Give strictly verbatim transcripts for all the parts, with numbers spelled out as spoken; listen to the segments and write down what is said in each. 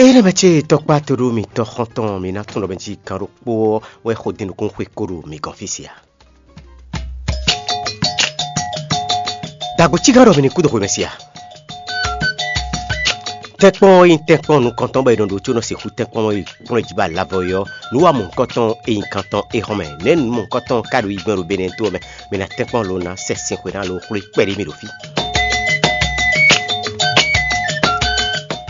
Énɛ́ mɛ ce tɔkpá to ɖó mitɔn xɔntɔn mi ná tunwun ɖɔ mɛ jí kan ɖokpó ɔ́ wɛ xó din nukún xwe kó ɖo mi gɔn fí sia. Dagbo cígán ɖɔ mi ní kú dó xwe mɛ sia. Tɛ́nkpɔ́n e nyí tɛ́nkpɔ́n nukɔntɔn bɔ è nɔ ɖo có nɔ sixú tɛ́nkpɔ́n e kplɔ́n jí ba lavɔ é ɔ́, nǔ wa mɔ̌hunkɔtɔn e nyí kantɔn é hɔn mɛ. Nɛ̌ nǔ mɔ̌hunkɔtɔn ka ɖo yi gbɛn ɖo Benɛ́ to ɔ́ mɛ? Mi ná tɛ́nkpɔ́n lo ná sɛ sin xwe ná lo xwlé kpɛɖé mì ɖo fí.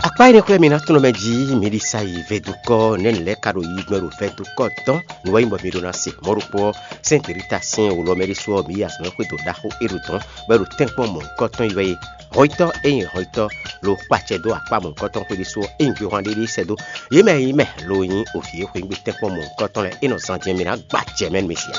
Akpá énɛ́ xwɛ mi ná tunwun mɛ jí mi ɖi sa yi vɛdukɔ nɛ̌ nǔ lɛ́ɛ ka ɖo yi gbɛn ɖo vɛdukɔ tɔn nǔ wɛ nyí bɔ mi ɖó ná se mɔ̌ ɖokpó ɔ́, sɛ́n Delita sín wǒ lɔ mɛ ɖésú ɔ́, mǐ yi azɔ̌ xwedó ɖaxó é ɖo dɔ̌n, bɔ é ɖo tɛ́nkpɔ́n mɔ̌hunkɔtɔn yi wɛ é. Hɔnyitɔ́ e nyí hɔnyitɔ́ lo kpacɛ dó akpá mɔ̌hunkɔtɔn xwé ɖésú ɔ́, é nyí gbéhwan ɖé ɖé sɛ́ dó yě mɛ e nyí mɛ lo nyí òvǐ e xweyǐgbe tɛ́nkpɔ́n mɔ̌hunkɔtɔn lɛ́ɛ é nɔ zan jɛ́n mì ná gba jɛ mɛ nú mi sia.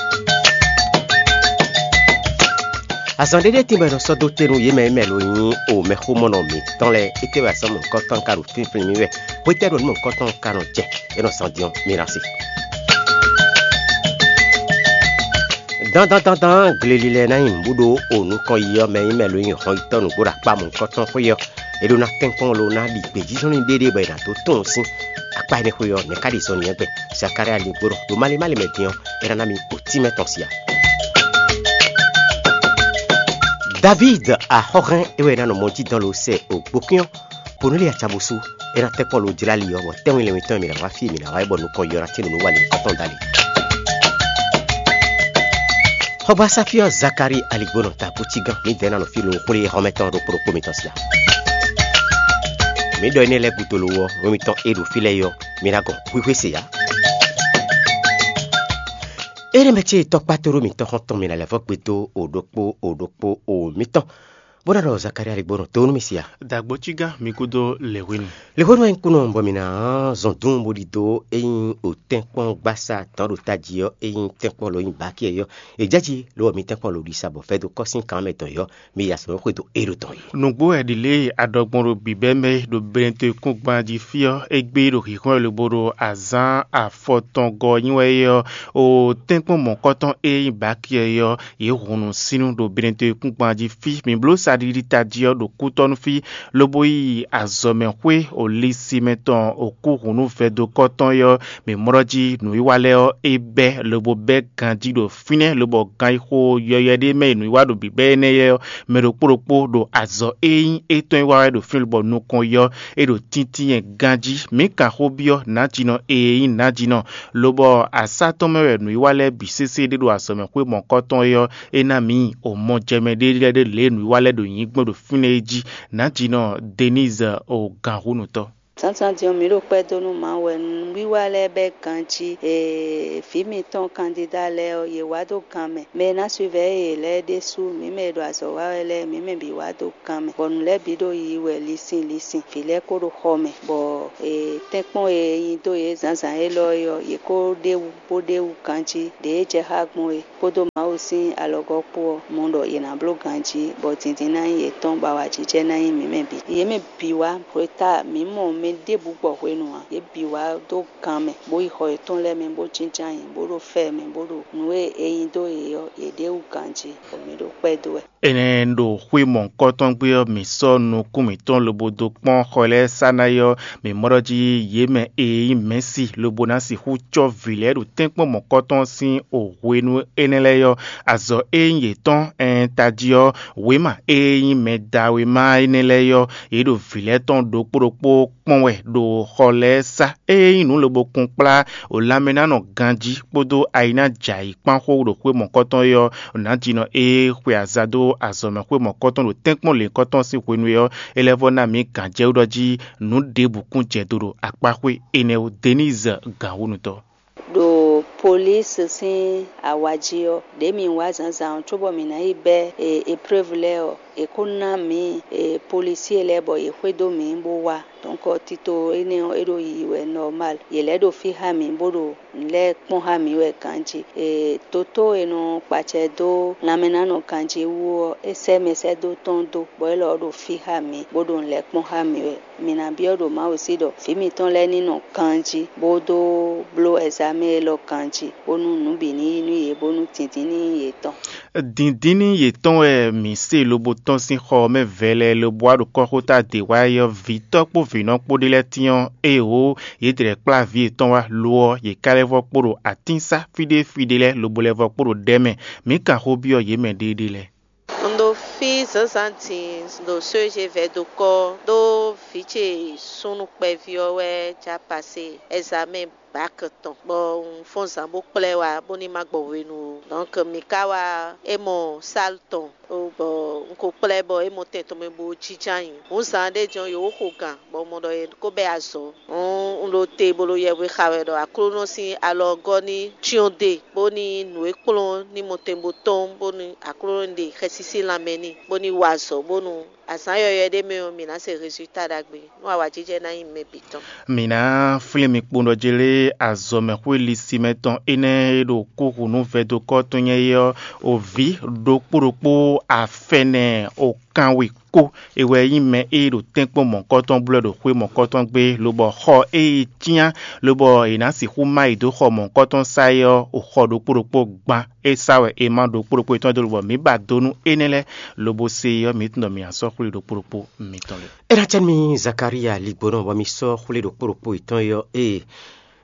Azɔn ɖé ɖé tín bɔ è nɔ sɔ́ dó te nú yě mɛ e mɛ lo nyí o mɛxómɔnɔ mǐtɔn lɛ́ɛ, étɛ́ wɛ azɔn mɔ̌hunkɔtɔn ka ɖo fínflín mì wɛ? Hwetɛ́ ɖo nǔ mɔ̌hunkɔtɔn ka nɔ jɛ? É nɔ zan din ɔ́, mi ná se. Dandan dandan gleli lɛ́ɛ ná nyí nǔbúɖó o nukɔn yi ɔ́ mɛ nyí mɛ lo nyí hɔnyitɔ́ nǔgbó ɖo akpá mɔ̌hunkɔtɔn xwé ɔ́. É ɖó ná kɛ́nkɔ́n lo ná ɖi gbějízɔ́nlin ɖéɖé bɔ è nǎ dó tunwun sín akpá énɛ́ xwé ɔ́, nɛ̌ ká ɖi zɔn nyi ɛ gbɛn? Zakalía ligbó ɖɔ ɖo malé malé mɛ din ɔ́, é ná ná mi otínmɛ tɔn sia. Davíd axɔ́hɛn é wɛ é ná nɔ mɔ jí dɔn lo sɛ ògbókín ɔ́, Ponúli acabusú, é ná tɛ́ kpɔ́n lo jlá li ɔ́, bɔ tɛ́nwin lɛ́nwin tɔn e mǐ ná wá fí e mǐ ná wá é bɔ nukɔn yɔ ná tín nǔ nú walǐ tɔn dali. Xɔgbasá fí ɔ́, Zakalíi aligbónɔ ta kúcígán, mǐdɛɛ ná nɔ fí lo xwlé xɔmɛ tɔn ɖokpó ɖokpó mitɔn sia. Mǐ ɖɔ énɛ́ lɛ́ɛ gúdo lo ɔ́, nú mitɔn e ɖo fí lɛ́ɛ é ɔ́, mi ná gɔn xwíxwé se ǎ. Énɛ́ mɛ ce tɔkpá tó ɖó mitɔn xɔ́ntɔn mi ná lɛ́ vɔ́ gbe dó o ɖokpó o ɖokpó o mitɔn, bó ná ɖɔ Zakalíi aligbónɔ tó nú mi sia. Dǎgbó cígán mi gúdo lě hwenu. Lě hwenu wɛ nyí kúnɔ bɔ mi ná zɔn dún bó ɖidó é nyí o tɛ́nkpɔ́n gbásá tɔn ɖo tají ɔ́, é nyí tɛ́nkpɔ́n lo nyí bákí ɔ́, è jɛ jí lobɔ mi tɛ́nkpɔ́n lo ɖisa bɔ fɛ́dó kɔ́ sín kan mɛ tɔn yɔ, mi yi azɔ̌ xwedó é ɖo tɔn yi. Nǔgbó wɛ ɖi lě e a ɖɔ gbɔn ɖo bǐbɛ́ mɛ ɖo Benɛtɔ́ kúngban jí fí ɔ́, égbé ɖo hǐnhɔ́n lobo ɖo azǎn afɔtɔngɔ́ nyi wɛ é ɔ́, o tɛ́nkpɔ́n mɔ̌kɔtɔn e nyí bákí ɔ́, yě hun nǔsínnú ɖo Benɛtɔ́ kúngban jí fí. Mǐ bló saɖiɖi tají ɔ́ ɖo kútɔ́ nú fí, lobo yi azɔ̌mɛxwé Olísimɛ tɔn okúhunú vɛdokɔ́ tɔn é ɔ́, mǐ mɔ ɖɔ jí nǔwiwa lɛ́ɛ ɔ́, é bɛ́ lobo bɛ́ ganjí ɖo fínɛ́, lobɔ ganxixo yɔywɛ ɖé mɛ e nǔwiwa ɖo bǐbɛ́ énɛ́ lɛ́ɛ ɔ́, mɛ ɖokpó ɖokpó ɖo azɔ̌ e nyí étɔn e wa wɛ ɖo fínɛ́ lobɔ nukɔn yɔ é ɖo tíntínyɛ ganjí. Mǐ kan xó byɔ́ nǎjínɔ e nyí nǎjínɔ, lobɔ asá tɔn mɛ wɛ nǔwiwa lɛ́ɛ bǐ sésé ɖé ɖo azɔ̌mɛxwé mɔ̌kɔtɔn é ɔ́, é ná mǐ o mɔjɛmɛ ɖé lɛ́ɛ ɖé lě e nǔwiwa lɛ́ɛ ɖo nyǐ gbɔn ɖo fínɛ́ é jí. Nǎjínɔ Denise o gǎnhúnútɔn. Zǎnzǎn din ɔ́, mǐ ɖo kpɛ́ dó nú Mawu wɛ. Nǔwiwa lɛ́ɛ bɛ́ ganjí. Ee, vǐ mitɔn kandída lɛ́ɛ ɔ́, yě wá dó gan mɛ. Mɛ e ná suivɛ́ yě lɛ́ɛ ɖésú, mǐ mɛ e ɖo azɔ̌ wa wɛ lɛ́ɛ, mǐ mɛ bǐ wá dó gan mɛ, bɔ nǔ lɛ́ɛ bǐ ɖo yiyi wɛ linsin linsin. Vǐ lɛ́ɛ kó ɖo xɔ mɛ, bɔ ee, tɛ́nkpɔ́n e nyi dó yě zǎnzǎn élɔ́ é ɔ́, yě kó ɖ'é wú bó ɖ'é wú ganjí. Ɖě e jɛ xá gbɔn é, kpódó Mawu sín alɔgɔ́ kpó ɔ́, mɔ ɖɔ yě ná bló ganjí, bɔ dǐndín ná nyí yětɔn, bɔ awǎjijɛ ná nyí mǐ mɛ bǐ. Yě mɛ bǐ wá hweta mǐ mɔ mɛ ɖěbǔ gbɔ hwenu ǎ. Yě bǐ wá dó gan mɛ, bó yi xɔ yětɔn lɛ́ɛ mɛ, bó jínjɔ́n ayǐ, bó ɖo fɛ mɛ, bó ɖo nǔ e è nyi dó yě ɔ́, yě ɖ'é wú ganjí, bɔ mǐ ɖo kpɛ́ dó wɛ. Énɛ́ ɖo xwé mɔ̌hunkɔtɔn gbe ɔ́, mǐ sɔ́ nukún mǐtɔn lobo dó kpɔ́n xɔ lɛ́ɛ sá ná yi ɔ́, mǐ mɔ ɖɔ jí yě mɛ e nyí mɛ̌si lobo ná sixú cɔ́ vǐ lɛ́ɛ ɖo tɛ́nkpɔ́n mɔ̌kɔtɔn sín o hwenu énɛ́ lɛ́ɛ ɔ́, azɔ̌ e nyí yětɔn ɛn tají ɔ́, wěma e nyí mɛ da wěma énɛ́ lɛ́ɛ ɔ́, yě ɖo vǐ lɛ́ɛ tɔn ɖokpó ɖokpó kpɔ́n wɛ ɖo xɔ lɛ́ɛ sá. Ée nyí nǔ lobo kún kplá o lanmɛ ná nɔ ganjí kpódó ayi ná jɛ ayǐ kpán xó ɖo xwé mɔ̌kɔtɔn é ɔ́, nǎjínɔ e xwe aza dó azɔ̌mɛxwé mɔ̌kɔtɔn ɖo tɛ́nkpɔ́n lěhunkɔtɔn sín hwenu é ɔ́, é lɛ́ vɔ́ ná mǐ gǎnjɛwú ɖɔ jí nǔ ɖěbǔ kún jɛ do ɖo akpá xwé énɛ́ ó. Denise Gǎnhúnútɔ́. Ɖo polísi sín awa jí ɔ́, ɖě mǐ wá zǎnzǎn ɔ́ cóbɔ mǐ ná yi bɛ́ épreuve lɛ́ɛ ɔ́, è kó ná mǐ polísi lɛ́ɛ bɔ yě xwedó mǐ bó wá. Donc tito énɛ́ ɔ́, é ɖo yiyi wɛ normal. Yě lɛ́ ɖo fí xá mǐ bó ɖo nǔ lɛ́ɛ kpɔ́n xá mǐ wɛ ganjí. Doto e nɔ kpacɛ dó lanmɛnánɔ ganjí wú ɔ́, é sɛ́ mɛsɛ́dó tɔn dó, bɔ élɔ́ ɔ́ ɖo fí xá mǐ bó ɖo nǔ lɛ́ɛ kpɔ́n xá mǐ wɛ. Mǐ ná byɔ́ ɖo Mawu sí ɖɔ vǐ mǐtɔn lɛ́ɛ ní nɔ ganjí bó dó bló ɛzamɛ́ élɔ́ ganjí. jí, bónú nǔ bǐ ní yi nú yě, bónú dǐndín ní nyí yětɔn. Dǐndín ní yětɔn wɛ mǐ se lobo tɔ́n sín xɔ ɔ́ mɛ vɛlɛ lobo wá ɖo kɔ́xota dě wá é ɔ́, vǐtɔ́ kpó vǐnɔ kpó ɖé lɛ́ɛ tyɔ́n, éeǒ, yě dlɛ̌ kplá vǐ yětɔn wá; lo ɔ́, yě ka lɛ́ vɔ́ kpo ɖo atínsa fí ɖé fí ɖé lɛ́ɛ lobo lɛ́ vɔ́ kpo ɖo ɖɛ̌ mɛ. Mǐ kan xó byɔ́ yě mɛ ɖéeɖée lɛ́ɛ. Un ɖo fí zǎnzǎn din ɖo sójevɛ́ dó kɔ́ ɖó vǐ ce súnnu kpɛví ɔ́ wɛ já pasé ɛzamɛ́n bǎk tɔn, bɔ un fɔ́n zǎn bó kplá ɛ wá bónú má gbɔ hwenu ó. Dɔnk mǐ ka wá é mɔ sál tɔn, bɔ un ko kplá ɛ bɔ é mɔ tɛn tɔn mɛ bó jínjɔ́n ayǐ. Hǔn zǎn ɖé jɔn yǒ xo gǎn, bɔ un mɔ ɖɔ è ko bɛ́ azɔ̌. Hǔn un ɖo te bo ɖo yɛhwe xa wɛ ɖɔ Aklúnɔ sín alɔ ɔ́ gɔ́ ní cyɔ́n dó e, bónú nǔ e kplɔ́n ní mɔtɛn bó tɔ́n, bónú Aklúnɔ ní ɖe xɛsísí lanmɛ n'i, bó ní wa azɔ̌, bónú azǎn yɔywɛ ɖé mɛ ɔ́, mǐ ná se rezulta ɖagbe, nú awǎjijɛ ná nyí mɛ bǐ tɔn. Mǐ ná flín mi kpowun ɖɔ jlé azɔ̌mɛxwé lisimɛ tɔn énɛ́ e ɖo kúhunú vɛdokɔ́ tɔn nyɛ é ɔ́, o vǐ ɖokpó ɖokpó afɛnɛ o kanwe kó. É wɛ nyí mɛ e ɖo tɛ́nkpɔ́n mɔ̌hunkɔtɔn blɔ́ ɖo xwé mɔ̌hunkɔtɔn gbé, lobɔ xɔ e yi cyán, lobɔ è nǎ sixú má yi dó xɔ mɔ̌hunkɔtɔn sá é ɔ́, o xɔ ɖokpó ɖokpó gban. É sá wɛ è má ɖokpó ɖokpó yětɔn dó lobɔ mǐ ba dó nú énɛ́ lɛ́ɛ, lobo se é ɔ́, mǐ tunwun ɖɔ mǐ ná sɔ́ xwlé ɖokpó ɖokpó mitɔn lɛ́ɛ. É ná cɛ nú mì Zakalía ligbonɔ bɔ mi sɔ́ xwlé ɖokpó ɖokpó yětɔn é ɔ́, ee,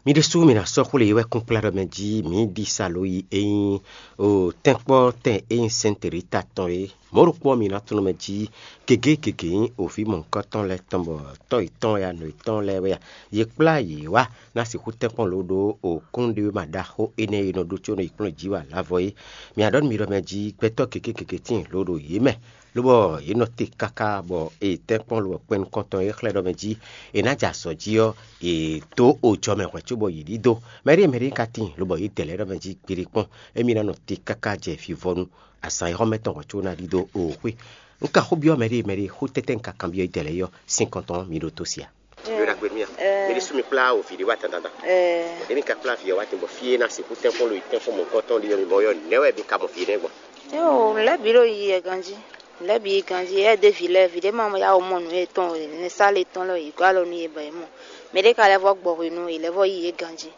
mi ɖésú mi ná sɔ́ xwlé e wɛ kún kplá ɖɔ mɛ jí mǐ ɖi sa lǒ yi é nyí o tɛ́nkpɔ́ tɛn e nyí Sɛ́nte Rita tɔn é. Mɔ̌ ɖokpó ɔ́, mi ná tunwun mɛ jí gěgé gěgé nyí o vǐ mɔ̌hunkɔtɔn lɛ́ɛ tɔn, bɔ tɔ́ yětɔn wɛ a, nɔ yětɔn lɛ́ɛ wɛ a, yě kplá yě wá ná sixú tɛ́nkpɔ́n lǒ ɖó o kúnɖéwéma ɖaxó énɛ́ e nɔ ɖó có nɔ yi kplɔ́n jǐ wá lǎvɔ é. Mi ná ɖɔ nú mi ɖɔ mɛ jí gbɛtɔ́ gěgé gěgé tíin lǒ ɖo yě mɛ, lobɔ yě nɔ te káká bɔ è tɛ́nkpɔ́n lobɔ kpɛn nukɔntɔn e xlɛ́ ɖɔ mɛ jí è nǎ jɛ azɔ̌ jí ɔ́, è dǒ ojɔ mɛ hwɛ̌ cóbɔ yě ɖidó. Mɛɖée mɛɖée ka tíin lobɔ yě dɛ lɛ́ɛ ɖɔ mɛ jí gbeɖé kpɔ́n, émí ná nɔ te káká jɛ vivɔnu azǎn e xɔ́mɛ tɔn hwɛ̌ có ná ɖidó o xwé. Un ka xó byɔ́ mɛɖée mɛɖée xó tɛ́tɛ́ un ka kanbyɔ́ yě dɛ lɛ́ɛ é ɔ́, sín kɔn tɔn ɔ́, mi ɖó tó sia. Yɔ ɖagbe nú mì a? Mɛ ɖésú mi kplá o vǐ ɖé wá dandan. Ɖě mi ka kplá vǐ ɔ́ wá din bɔ fí e ná sixú tɛ́nkpɔ́n lo yi tɛ́nkpɔ́n mɔ̌hunkɔtɔn ɖi ɔ́, mi mɔ yɔ nɛ̌ wɛ mi ka mɔ vǐ énɛ́ gbɔn? Yo, lɛ̌ bǐ ɖo yi yɛ ganjí. Lɛ̌ bǐ yi ganjí, ɛ ɖě vǐ lɛ́ɛ, vǐ ɖé ma yá wɔ mɔ nǔ yětɔn o, nɛsá le tɔn lɔ yě gɔ́ alɔ nú yě bɔ yě mɔ. Mɛ ɖé ka lɛ́ vɔ gbɔ hwenu, yě lɛ́ vɔ yi yě ganjí.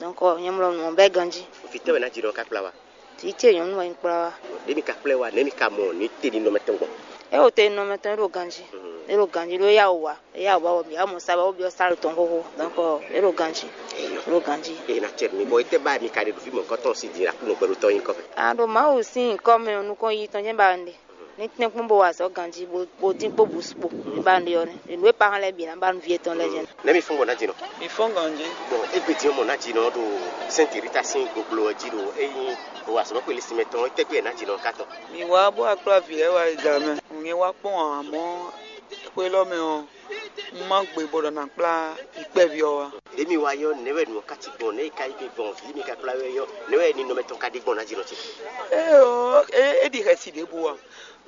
Donc nyɛ mlɔ nǔ ɔ́ bɛ́ ganjí. Vǐ tɛ́ wɛ ná jǐ ɖɔ ka kplá wá? Vǐ ce nyɔ̌nu wɛ un kplá wá. Ɖě mi ka kplá ɛ wá, nɛ̌ mi ka mɔ ní te ɖi nɔmɛ tɔn gbɔn? É o te nɔmɛ tɔn é ɖo ganjí. É ɖo ganjí ɖó yá wɔ wá, é yá wɔ wá wɔ mǐ wá mɔ sa bɔ byɔ́ sál tɔn xóxó. Donc é ɖo ganjí. É ɖo ganjí. É ná cɛ mi bɔ étɛ́ ba mi ka ɖe ɖo fí mɔ̌hunkɔtɔn sín din Aklúnɔ gbɛɖótɔ́ nyí kɔ mɛ? A ɖo Mawu sín nyǐkɔ mɛ ɔ́, nukɔn yi tɔn jɛ́n ba un ɖe. Ní tɛ́nkpɔ́n bó wa azɔ̌ ganjí bó dín kpó bǔ kpó. Ní ba un ɖe ɔ́ nɛ́. Nǔ e pa hɔn lɛ́ɛ bǐ ná ba nǔ vǐ yětɔn lɛ́ɛ jɛ́n. Nɛ̌ mi fɔ́n gbɔn ná jǐ nɔ? Mi fɔ́n ganjí. Bɔn égbé din ɔ́ mɔ ná jǐ nɔ ɖo Sɛ́nti Rita sín goglo ɔ́ jí ɖo ényí o azɔ̌mɛxwé Lisimɛ tɔn ɔ́, étɛ́ gbé ná jǐ nɔ ká tɔn? Mi wá bó wá kplá vǐ lɛ́ɛ wá yi da mɛ. Un nyɛ wá kpɔ́n ǎ, amɔ̌ xwé lɔ mɛ ɔ́, un má gbe bɔ ɖɔ ná kplá vǐ kpɛví ɔ́ wá. Ɖě mi wá yɔ nɛ̌ wɛ nǔ ɔ́ ká cí gbɔn, nɛ̌ yi ka yi gbé gbɔn, vǐ mi ka kplá wɛ yɔ, nɛ̌ wɛ ninɔmɛ tɔn ka ɖe gbɔn ná jǐ nɔ ce? Éeǒ, é é ɖi xɛsi ɖěbǔ ǎ.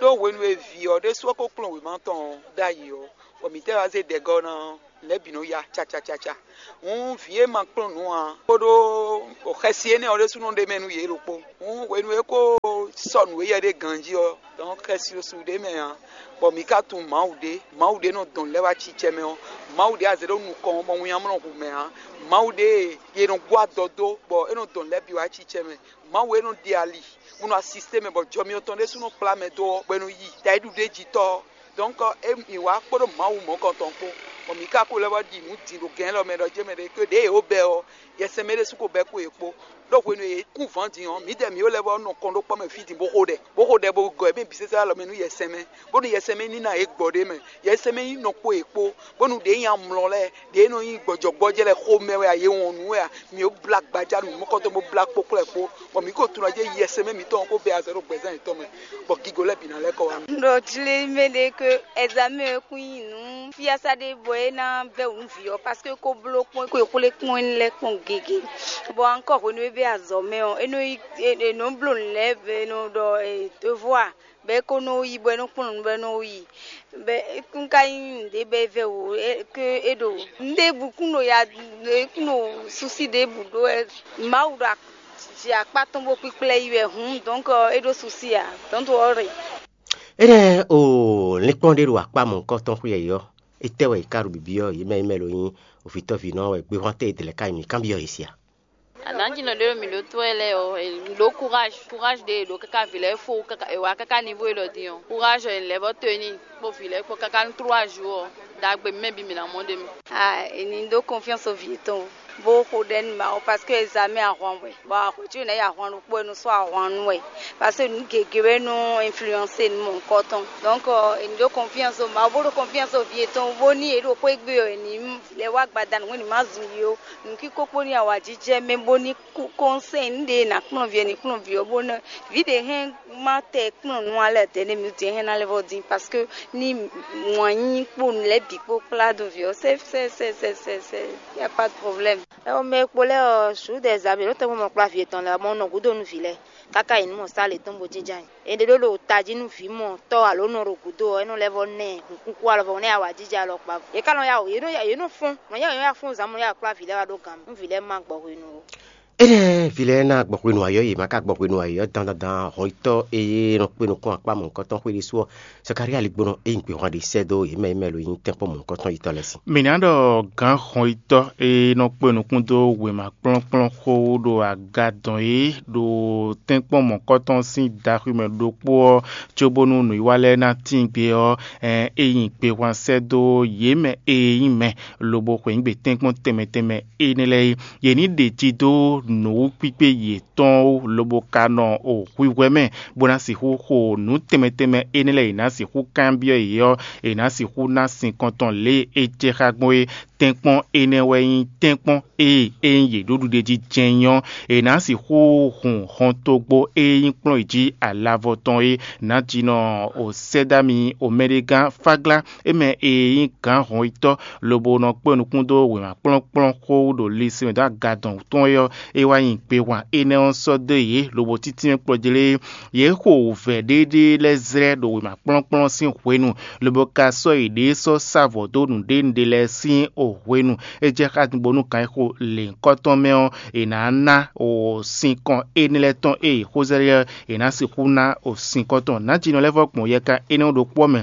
Ɖó hwenu e vǐ ɔ́ ɖésú ɔ́ ko kplɔ́n wěma tɔn ɔ́ ɖ'ayǐ ɔ́, bɔ mǐ tɛ́ wá zé ɖɛ̌gɔ́ ná ɔ́, lɛ̌ bǐ nɔ ya cacacaca. Hǔn vǐ e ma kplɔ́n nǔ ǎ kpódó xɛsi énɛ́ ɔ́ ɖésúnɔ ɖ'é mɛ nú yě ɖokpó. Hǔn hwenu e é ko sɔ́ nǔ éyɛ́ ɖé ganjí ɔ́, dɔn xɛsi ɖo su ɖ'é mɛ ǎ, bɔ mǐ ka tunwun Mawu ɖé. Mawu ɖé nɔ dɔn lɛ́ wá cicɛ mɛ ɔ́, Mawu ɖé a zě ɖó nukɔn ɔ́, bɔ winnyá mlɔ hu mɛ ǎ. Mawu ɖé e è nɔ gbɔ adɔ dó, bɔ é nɔ dɔn lɛ́ bǐ wá cicɛ mɛ. Mawu e nɔ ɖe ali, bó nɔ asisté mɛ, bɔ jɔmyɔ tɔn ɖésú nɔ kplá mɛ dó ɔ́, bɔ è nɔ yi dǎ e ɖu ɖ'é jí tɔ́ ɔ́. Dɔ̌nkɔ é mǐ wá kpódó Mawu mɔ̌kɔntɔn kpó, bɔ mǐ ka ko lɛ́ vɔ́ ɖi nǔ din ɖo gɛ̌n lɔ mɛ ɖɔ jɛ́ mɛ ɖé ké ɖěe yě wǒ bɛ́ ɔ́, yɛsɛn mɛ ɖésú ko bɛ́ kpó yě kpó. Ɖó hwenu e yě kún vǎn din ɔ́, mǐdɛɛ mǐ ó lɛ́ vɔ́ nɔ kɔn ɖó kpɔ́ mɛ fí din bó xo ɖɛ, bó xo ɖɛ bó gɔ́ mɛ bǐ sésé alɔ mɛ nú yɛsɛn mɛ, bónú yɛsɛn mɛ ní ná yě gbɔ ɖ'é mɛ. Yɛsɛn mɛ nyí nɔ kpó yě kpó, bónú ɖě nyi amlɔ lɛ́ɛ, ɖě nɔ nyí gbɔjɔgbɔ́jɛ́ lɛ́ɛ xomɛ wɛ a, yě wɔn nǔ wɛ a, mǐ ó blá gbaja nǔ mɔkɔtɔn bó blá kpókplɔ́ kpó, bɔ mǐ ko tunwun jí yɛsɛn mɛ mǐtɔn ɔ́ ko bɛ́ azɔ̌ ɖo gbɛ̌zán yětɔn mɛ, bɔ gigo lɛ́ɛ bǐ ná lɛ́ kɔ wá. Un ɖɔ jlé mɛ ɖé ke ɛzamɛ ɔ́ kún nyí nǔ fiása ɖé bɔ é ná bɛ́ wǔ nú vǐ ɔ́, parce que é ko bló kpɔ́n, é ko yi xwlé kpɔ́n énɛ́ lɛ́ɛ kpɔ́n gěgé, bɔ ankɔ hwenu e é bɛ́ azɔ̌ mɛ ɔ́, é nɔ yi, è nɔ bló nǔ lɛ́ɛ, è nɔ ɖɔ devoir, bɔ é ko nɔ yi, bɔ é nɔ kplɔ́n nǔ, bɔ é nɔ yi. Bɛ un ka nyí nǔɖé bɔ é vɛ́ wǒ ke é ɖo nǔɖé bǔ kún ɖo ya kún ɖo susi ɖěbǔ ɖó wɛ. Mawu ɖo jɛ akpá tɔn bó kpíkplɛ́ yi wɛ hǔn, dɔ̌nkɔ é ɖó susi ǎ, don't worry. Énɛ́ o linkpɔ́n ɖé ɖo akpá mɔ̌hunkɔtɔn xwé yɛ̌yɔ́. Étɛ́ wɛ è ká ɖo bibyɔ́ yě mɛ e mɛ lo nyí ovǐtɔ́vǐnɔ wɛ gbéhwán tɛ́ è dlɛ̌ ká nyi mǐ kanbyɔ́ yě sia? Adanjinɔ ɖé ɖo mǐ ɖó tó wɛ lɛ́ɛ ɔ́, è ɖó courage, courage ɖé è ɖó káká vǐ lɛ́ɛ fó káká è wá káká niveau élɔ́ din ɔ́, courage ɔ́ è lɛ́ vɔ́ tó e n'i kpó vǐ lɛ́ɛ kpó káká nú trois jours ɔ́, ɖagbe mɛ bǐ mǐ ná mɔ ɖ'é mɛ. Ah, è nǐ ɖó confiance vǐ tɔn bó xo ɖɛ nú Mawu parce que examen ahwan wɛ, bɔ ahwɛ̌ cí nɛ́ yi ahwan ɖokpó wɛ nú sɔ́ ahwan nú wɛ, parce que nǔ gěgé wɛ nɔ influencer nú mɔ̌hunkɔtɔn. Donc è nǐ ɖó confiance Mawu bó ɖó confiance vǐ yětɔn bó ní è ɖo xwé gbe ɔ́, è nǐ lɛ́ wá gbadanu hwenu ní ma zun yi ó. Nǔkíkó kpó ní awǎjijɛ mɛ bó ní kú kɔnsɛ́n ɖě è nǎ kplɔ́n vǐ è ní kplɔ́n vǐ ɔ́ bó ná vǐ ɖě hɛn má tɛ kplɔ́n nú alɛ dɛ̌ nɛ mì din hɛn ná lɛ́ vɔ din parce que ní wǎn nyí kpó nǔ lɛ́ɛ bǐ kpó kplá dó vǐ ɔ́ sɛ sɛ sɛ sɛ sɛ sɛ y a pas de problème. Ɛwɔ mɛ e kpo lɛ́ɛ ɔ́, sǔ ɖɛ zǎ mǐ ɖo tɛ́nmɔ mɔ kplá vǐ yětɔn lɛ́ɛ ɔ́, mɔ nɔ gǔdo nú vǐ lɛ́ɛ káká yi nú mɔ sá lě tɔn bó jínján nyi. È ɖe ɖó ɖo tají nú vǐ mɔ tɔ́ alo nɔ ɖo gǔdo ɔ́, é nɔ lɛ́ vɔ nɛ hǔnkúnkún alɔ vɔ nɛ́ awǎjijɛ alɔkpa. Yě ká nɔ yá wǔ, yě nɔ yá yě nɔ fɔ́n, nɔ yá yě nɔ yá fɔ́n zǎn mɔ yá kplá vǐ lɛ́ɛ wá ɖó gǎn mɛ, nú vǐ lɛ́ɛ má gbɔ hwenu ó. Énɛ́ vǐ lɛ́ɛ ná gbɔ hwenu ayɔ́ yě má ka gbɔ hwenu ayɔ́ dandandan hɔnyitɔ́ e nɔ kpé nukún akpá mɔ̌hunkɔtɔn xwé ɖésú ɔ́, Zakalía ligbónɔ e nyi gběhwan ɖé sɛ́ dó yě mɛ e mɛ lo nyí tɛ́nkpɔ́n mɔ̌hunkɔtɔn yětɔn lɛ́ɛ sin. Mǐ ná ɖɔ gǎn hɔnyitɔ́ e nɔ kpé nukún dó wěma kplɔ́nkplɔ́n xó ɖo aga dɔn é ɖo tɛ́nkpɔ́n mɔ̌kɔtɔn sín daxwi mɛ ɖokpó ɔ́, cóbónú nǔwiwa lɛ́ɛ ná tíin gbe ɔ́, é nyi gbehwan sɛ́ dó yě mɛ e nyí mɛ lobo xweyǐgbe tɛ́nkpɔ́n tɛnmɛ tɛnmɛ énɛ́ lɛ́ɛ é. Yě ní ɖe ji dó nǔwúkpíkpé yětɔn ó, lobo ka nɔ o hwihwɛ mɛ, bó ná sixú xo nǔ tɛnmɛ tɛnmɛ énɛ́ lɛ́ɛ e è nǎ sixú kanbyɔ́ yě ɔ́, è nǎ sixú ná sinkɔn tɔn lě e é jɛ xá gbɔn é. Tɛ́nkpɔ́n énɛ́ wɛ nyí tɛ́nkpɔ́n e é nyí yě ɖó ɖuɖéjí jɛ́n nyí ɔ́, è nǎ sixú hun hɔntogbó e nyí kplɔ́n yě jí alavɔ tɔn é. Nǎjínɔ Osɛ́dámi Omɛɖégán Fáglá, é mɛ e nyí gǎn hɔnyitɔ́ lobo nɔ kpé nukún dó wěma kplɔ́nkplɔ́n xó ɖo lisin mɛ dó aga dɔn tɔn é ɔ́, é wá nyi gbehwan énɛ́ ɔ́ sɔ́ dó yě lobo títínmɛ kplɔ́jlé. Yě xo wǔvɛ́ ɖéɖé lɛ́ɛ zlɛ́ ɖo wěma kplɔ́nkplɔ́n sín hwenu, lobo ka sɔ́ yěɖée sɔ́ sá vɔ̌ dó nǔɖénúɖé lɛ́ɛ sín hwenu. É jɛ xá bónú kan e xo lěhunkɔtɔn mɛ ɔ́, è nǎ ná sinkɔn énɛ́ lɛ́ɛ tɔn e è xó zɛ lɛ́ɛ ɔ́, è nǎ sixú ná sinkɔn tɔn. Nǎjínɔ lɛ́ɛ vɔ́ gbɔn yɛkan énɛ́ ɔ́ ɖokpó ɔ́ mɛ,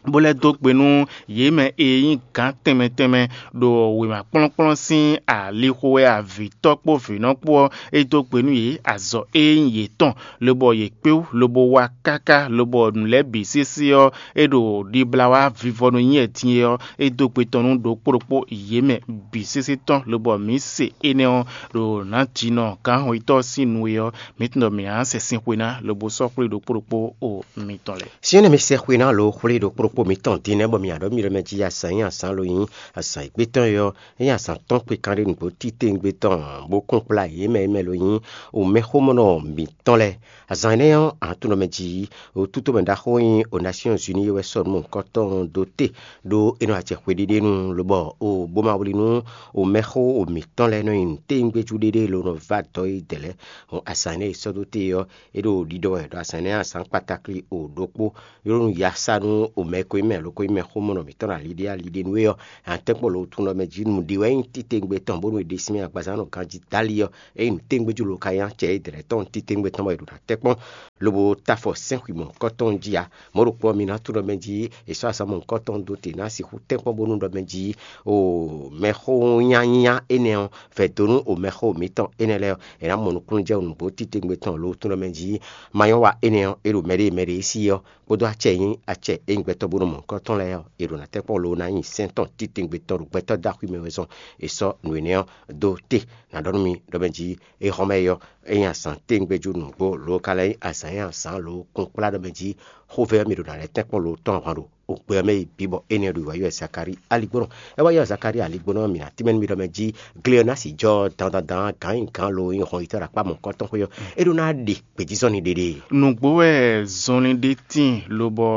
bó lɛ́ dó gbe nú yě mɛ e nyí gǎn tɛnmɛ tɛnmɛ ɖo wěma kplɔ́nkplɔ́n sín alixo wɛ avǐtɔ́ kpó vǐnɔ kpó ɔ́, é dó gbe nú yě azɔ̌ e nyí yětɔn, lobɔ yě kpé wú, lobo wá káká, lobɔ nǔ lɛ́ɛ bǐ sésé ɔ́, é ɖo ɖibla wá vivɔnu nyí wɛ din é ɔ́, é dó gbe tɔn nú ɖokpó ɖokpó yě mɛ bǐ sésé tɔn, lobɔ mǐ se énɛ́ ɔ́ ɖo nǎjínɔ gǎnhɔnyitɔ́ ɔ́ sín nu é ɔ́, mǐ tunwun ɖɔ mǐ ná sɛ sin xwe ná, lobo sɔ́ xwlé ɖokpó ɖokpó o mitɔn lɛ́ɛ. Sin énɛ́ mi sɛ xwe ná lo xwlé ɖokpó ɖokpó mitɔn din nɛ́ bɔ mi aɖɔ̌ mi ɖɔ mɛ jí azǎn nyí azǎn lo nyí azǎn e gbé tɔn é ɔ́, é nyí azǎn tɔn kpé kanɖé nǔgbó titewungbe tɔn, bó kún kplá yě mɛ e mɛ lo nyí omɛxómɔnɔ mǐtɔn lɛ́ɛ. Azǎn énɛ́ ɔ́, ahan tún nɔ mɛ jí, wǒtútú mɛ ɖaxó e nyí o Nasyɔ́n Uní é wɛ sɔ́ nǔ mɔ̌hunkɔtɔn dó te, ɖó é nɔ acɛ xweɖéɖé nu, lobɔ o bó ma wlí nú o mɛxó o mǐtɔn lɛ́ɛ nɔ nyi nǔtewungbejú ɖéɖé lo nɔ vá dɔ̌ e dɛ̌ lɛ́ɛ. Hɔn azǎn énɛ́ e sɔ́ dó te ɔ́, é ɖo ɖiɖɔ wɛ ɖɔ azǎn énɛ́ azǎn kpatakli o ɖokpó, é ɖo nú ya sá nú o mɛ e ko nyí mɛ lo ko nyí mɛxómɔnɔ mǐtɔn ɖo ali ɖé ali ɖé nú é ɔ́, atɛ́nkpɔ́ lo tún nɔ mɛ jí nǔɖé wɛ nyí titewungbe tɔn bónú è ɖe sín mɛ agbaza nɔ ganjí dali ɔ́, ényí nǔtɛ́ngbéjú lo ka nyí acɛ é dlɛ̌ tɔn titewungbe tɔn bɔ è ɖo ná tɛ́ kpɔ́n, lobo ta afɔ sɛ́n xwi mɔ̌hunkɔtɔn jí ǎ. Mɔ̌ ɖokpó ɔ́, mi ná tunɔ mɛ jí è sɔ́ azǎn mɔ̌hunkɔtɔn dó te ná sixú tɛ́nkpɔ́n bónú ɖɔ mɛ jí o mɛxó nyanya énɛ́ ɔ́ vɛ̌ dó nú o mɛxó mǐtɔn énɛ́ lɛ́ɛ ɔ́, è nǎ mɔ nukúnnú jɛ nǔgbó titewungbe tɔn lo tunɔ mɛ jí ma nyɔ́ wa énɛ́ ɔ́, é ɖo mɛɖée mɛɖée sí ɔ́, kpódó acɛ e nyí acɛ e nyí gbɛtɔ́ bó nɔ mɔ nukɔn tɔn lɛ́ɛ ɔ́, è ɖo ná tɛ́ kpɔ́n lo ná nyi sɛ́n tɔn titewungbe tɔn ɖo gbɛtɔ́ dó axwí mɛ wɛ zɔn è sɔ́ nǔ énɛ́ ɔ́ dó te. Nǎ ɖɔ nú mi ɖɔ mɛ jí é hɔn mɛ é ɔ́, é nyí azǎn tewungbejú nǔgbó lo ka lɛ́ nyí azǎn e azǎn lo kún kplá ɖɔ mɛ jí xóvɛ́ ɔ́ mi ɖo ná lɛ́ tɛ́ kpɔ́n lo tɔn ahwan ɖo ògbɛ ɔ́ mɛ yi bǐ bɔ énɛ́ ɖo wǎyi wɛ Zakalíi aligbónɔ. É wá yɔ Zakalíi aligbónɔ ɔ́, mǐ ná tínmɛ nú mi ɖɔ mɛ jí gle ɔ́ ná sixú jɔ dandandan gǎn nyi gǎn lo nyí hɔn yi tɔ́ ɖo akpá mɔ̌hunkɔtɔn xwé ɔ́, é ɖó ná ɖe gbějízɔ́n ní ɖéɖé. Nǔgbó wɛ zɔnlin ɖé tíin lobɔ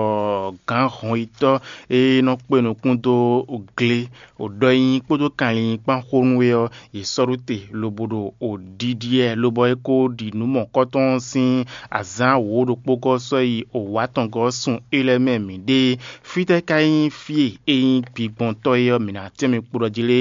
gǎn hɔnyitɔ́ e nɔ kpé nukún dó gle ɖɔ e nyí kpódó kanlin kpán xó nú é ɔ́, yě sɔ́ ɖó te lobo ɖo ɖiɖi ɛ, lobɔ é ko ɖi nǔ mɔ̌kɔtɔn sín azǎn wǒ ɖokpó gɔ́ sɔ́ yi wǒ atɔngɔ́ sun é lɛ́ɛ mɛ mǐɖée. Fítɛ́ ka nyí fí e é nyí gbigbɔntɔ́ é ɔ́, mǐ ná tɛ́n mi kpo ɖɔ jí lé?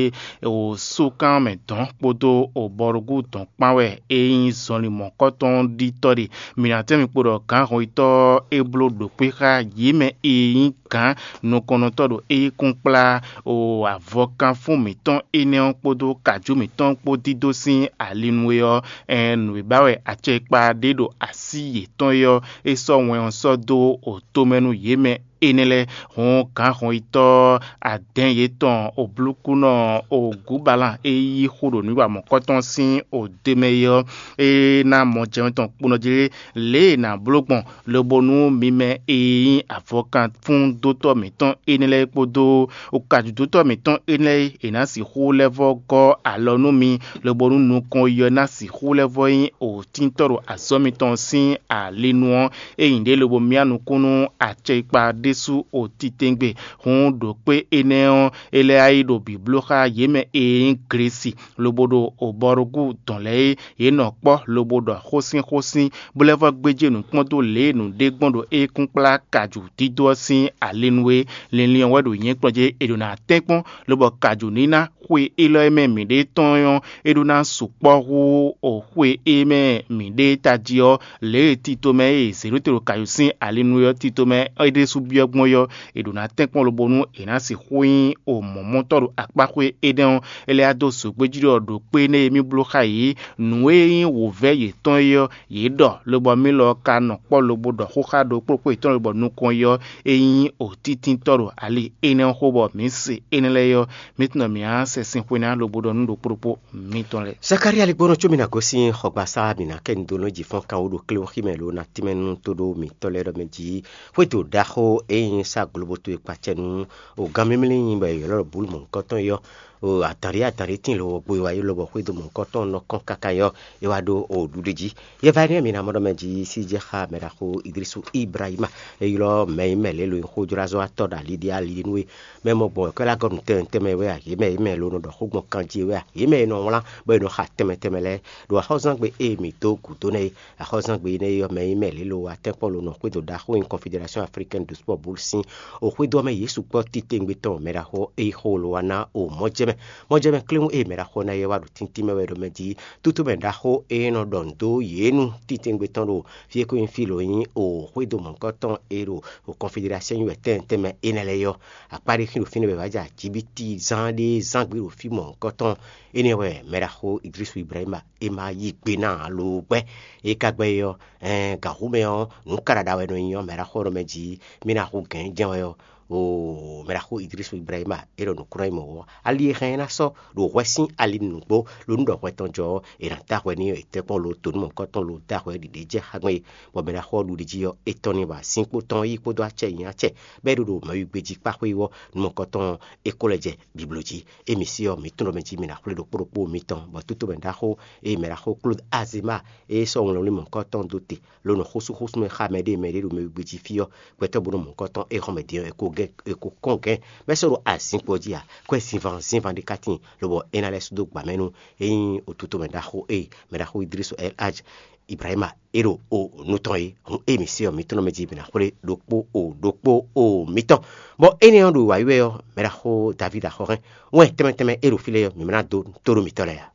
Osúkan mɛ dɔn kpódó obɔrúgú dɔn kpán wɛ é nyí zɔnlin mɔ̌kɔtɔn ɖitɔ́ ɖe. Mǐ ná tɛ́n mi kpo ɖɔ gǎnhɔnyitɔ́ ɔ́ é bló ɖǒkpé xá yě mɛ e nyí gǎn nukɔnnɔtɔ́ ɖo é kún kplá o avɔkanfún mǐtɔn énɛ́ ɔ́ kpódó kajú mǐtɔn kpó dídó sín ali nú é ɔ́, ɛɛn nǔ e ba wɛ acɛkpa ɖé ɖo así yětɔn é ɔ́, é sɔ́ wɛn ɔ́ sɔ́ dó o tomɛ nú yě mɛ énɛ́ lɛ́ɛ. Hǔn gǎnhɔnyitɔ́ adɛn yětɔn oblúkúnɔ ogǔbalan e yí xo ɖo nǔ wa mɔ̌kɔtɔn sín odé mɛ é ɔ́, é ná mɔ jɛmɛ tɔn kponɔ jí lě e è nǎ bló gbɔn, lobo nú mi mɛ e nyí avɔkanfúndótɔ́ mǐtɔn énɛ́ lɛ́ɛ kpódó kajǔdótɔ́ mǐtɔn énɛ́ lɛ́ɛ e è nǎ sixú lɛ́ vɔ́ gɔ́ alɔ nú mi, lobo nú nukɔn yi ɔ́ ná sixú lɛ́ vɔ́ nyí òtíntɔ́ ɖo azɔ̌ mitɔn sín ali nu ɔ́, é nyí ɖě lobo myá nukún nú acɛkpa ɖésú o titewungbe. Hǔn ɖo kpé énɛ́ ɔ́, é lɛ́ wá yi ɖo bǐbló xá yě mɛ e nyí Glesi, lobo ɖo obɔrúgú dɔn lɛ́ɛ é. Yě nɔ kpɔ́ lobo ɖɔ xósínxósín, bó lɛ́ vɔ́ gbéjé nǔ kpɔ́n dó lě e nǔɖé gbɔn ɖo é kún kplá kajǔ dídó ɔ́ sín ali nu é. Linlin ɔ́ wɛ ɖo nyɛ̌kplɔ́n jí è ɖǒ ná tɛ́nkpɔ́n, lobɔ kajǔ ní ná xwe élɔ́ e mɛ mǐɖée tɔn ɔ́, é ɖó ná sukpɔ́ hú o xwe e mɛ mǐɖée tají ɔ́, lě e tito mɛ e Zeɖote ɖo kajǔ sín ali nu é ɔ́, tito mɛ é ɖésú byɔ́ gbɔn é ɔ́, è ɖǒ ná tɛ́nkpɔ́n lobo nú è nǎ sixú nyí o mɔ̌mɔ́tɔ́ ɖo akpá xwé énɛ́ ɔ́, é lɛ́ wá dó zǒgbéjí ɖɔ ɖo kpé énɛ́ e mì bló xá yě, nǔ e nyí wǒvɛ́ yětɔn é ɔ́, yě ɖɔ, lobɔ mì lɔ ka nɔ kpɔ́ lobo ɖɔ xó xá ɖokpó ɖokpó yětɔn lobɔ nukɔn yi ɔ́, é nyí òtítíntɔ́ ɖo ali énɛ́ ɔ́ xó bɔ mǐ se énɛ́ lɛ́ɛ ɔ́, mǐ tunɔ mǐ á sɛ sin xwe ná lobo ɖɔ nú ɖokpó ɖokpó mitɔn lɛ́ɛ. Zakalía ligbɔnɔ có mì ná gosín xɔgbasá mǐ ná kɛ nu dó nú jǐ fɔ́n kan wú ɖo kléwúxí mɛ lo ná tínmɛ nú tóɖó mǐtɔn lɛ́ɛ ɖɔ mɛ jí xwédo ɖaxó e nyí sá globo towe kpacɛ nú o gǎn mímlí nyi bɔ è ylɔ́ ɖɔ bǔlu mɔ̌hunkɔtɔn é ɔ́, o adǎnɖé adǎnɖé tíin lo ɔ́ gbo e wá yi lobɔ xwédo mɔ̌hunkɔtɔn nɔ kɔn káká é ɔ́, é wá ɖó o ɖuɖi jí. Yɛ va énɛ́ mǐ ná mɔ ɖɔ mɛ jí sí jɛ xá mɛ ɖaxó Idrisu Ibrahima, é ylɔ́ mɛ e mɛ lě lo nyí xójlázɔ́watɔ́ ɖo ali ɖé ali nú we. Mɛ mɔ gbɔn wɛ̌kɔ́ lɛ́ gɔ́ nǔ tɛnmɛ tɛnmɛ wɛ a, yě mɛ e mɛ lo nɔ ɖɔ xó gbɔn kanjí é wɛ a, yě mɛ e nɔ wlán bɔ è nɔ xa tɛnmɛ tɛnmɛ lɛ́ɛ ɖo axɔ́zúzángbe e mǐ dó gǔdo nɛ́ é. Axɔ́zúzángbe énɛ́ é ɔ́, mɛ e mɛ lě lo wá tɛ́nkpɔ́n lo nɔ xwédo ɖaxó nyi Confédération Africaine de Sport Boule sín o xwédo ɔ́ mɛ yě sukpɔ́ titewungbe tɔn mɛ ɖaxó e xo lo wá ná o mɔjɛmɛ. Mɔjɛmɛ kléwún e mɛ ɖaxó ná yɛ wá ɖo tíntín mɛ wɛ ɖɔ mɛ jí tútú mɛ ɖaxó e nɔ ɖɔ nǔ dó yě nu titewungbe tɔn ɖo fí e ko nyí fí lo nyí o xwédo mɔ̌hunkɔtɔn e ɖo o Confédération nyi wɛ tɛnmɛ tɛnmɛ énɛ́ lɛ́ɛ é ɔ́, akpá ɖé xín ɖo fínɛ́ bɔ è wǎ jɛ ajǐbítí zán ɖé zán gbé ɖo fí mɔ̌hunkɔtɔn. Énɛ́ wɛ mɛ ɖaxó Idrisu Ibrahima é ma yí gbe ná alo gbɛ́. É ka gbɛ́ é ɔ́, ɛɛn gǎnxú mɛ ɔ́, nǔ ka ɖaɖa wɛ nɔ nyí ɔ́, mɛ ɖaxó ɔ́ nɔ mɛ jí mì ná hu gɛ̌n jɛ́n wɛ ɔ́, oo mɛ ɖaxó Idrisu Ibrahima é ɖɔ nǔkúnɔ nyí mɔ̌ ɔ́, ali e hɛn ɛ ná sɔ́ ɖo hwɛ sín ali nǔgbó ló nú ɖɔ hwɛ tɔn jɔ ɔ́, è nǎ dó ahwɛ n'i ɔ́, è tɛ́ kpɔ́n lo tonúmɔ̌hunkɔtɔn lo dó ahwɛ ɖiɖe jɛ xá gbɛn é, bɔ mɛ ɖaxó ɔ́ ɖu ɖi jí ɔ́, é tɔ́n n'i bɔ asín kpó tɔn yí kpódó acɛ nyi acɛ, bɔ é ɖo ɖo mɛwígbé jí kpá xwé wú ɔ́, nukɔntɔn ɔ́, é ko lɛ jɛ biblo jí. Émí sí ɔ́, mǐ tunwun ɖɔ mɛ jí mǐ ná xwlé ɖokpó ɖokpó mitɔn, bɔ tútú mɛ ɖaxó e mɛ ɖaxó Klód Azema e sɔ́ wlɛnwlí mɔ̌hunkɔtɔn dó te, ló nɔ xósúxósú mɛ xá mɛɖée mɛɖée ɖo mɛ wígbé jí fí ɔ́, gbɛtɔ́ bo nɔ mɔ̌hunkɔtɔn e hɔn mɛ din ɔ́, è ko gɛ́ è ko kɔn gɛ́, bɔ é sɔ́ ɖo azinkpo jí ǎ. Kwɛ́ zinván zinván ɖé ka tíin, lobɔ é ná lɛ́ sú dó gbǎ mɛ nú é nyí otutomɛ ɖaxó e mɛ ɖaxó Idrisu El Haj Ibrahima é ɖo o nu tɔn é. Hǔn émí sí ɔ́, mǐ tɔn mɛ jí mǐ ná xwlé ɖokpó o ɖokpó o mitɔn. Bɔ énɛ́ ɔ́ ɖo wǎyi wɛ ɔ́, mɛ ɖaxó Davídi axɔ́hɛn wɛn tɛnmɛ tɛnmɛ e ɖo fí lɛ́ɛ ɔ́, mǐ mɛ ná dó tó ɖo mǐtɔn lɛ́ɛ ǎ.